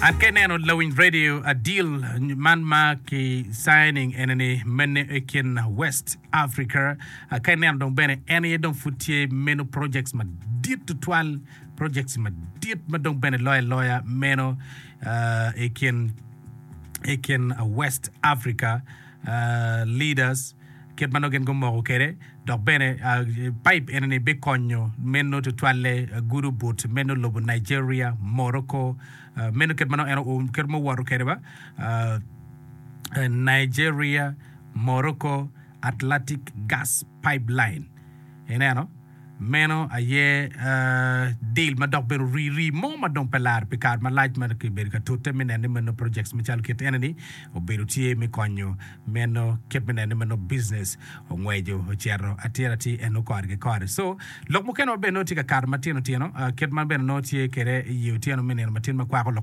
An ka ineno lawiny radio a deal man ma ki signing ene ni mene i kin West Africa. Ka ineno dong bene en aye dong pud tye meno projects madit tutwal, projects madit ma dong bene loyo aloya meno i kin i kin West Africa leaders. Kit ma nongo gin gumoko kwede, dok bene paip eni-ni bikonyo meno tutwalle gudo but meno lobo Nigeria, Morocco, meno kit ma nongo en kit ma owoto kwede ba, Nigeria, Morocco Atlantic Gas Pipeline. Ineno? Meno aye deal ma dok bene orii rii mo ma dong pe lar pi kare malac ma kibedo ka tute me neno ni meno projects macalo kit eni-ni obedo tye me konyo meno kit me neno ni meno business ongweco ocito atir atir eno kore ki kore. So lok mukene ma bene nongo tye ka kato matino tino kit ma bene nongo tye kwede i otyeno me nino matin ma kwako lok.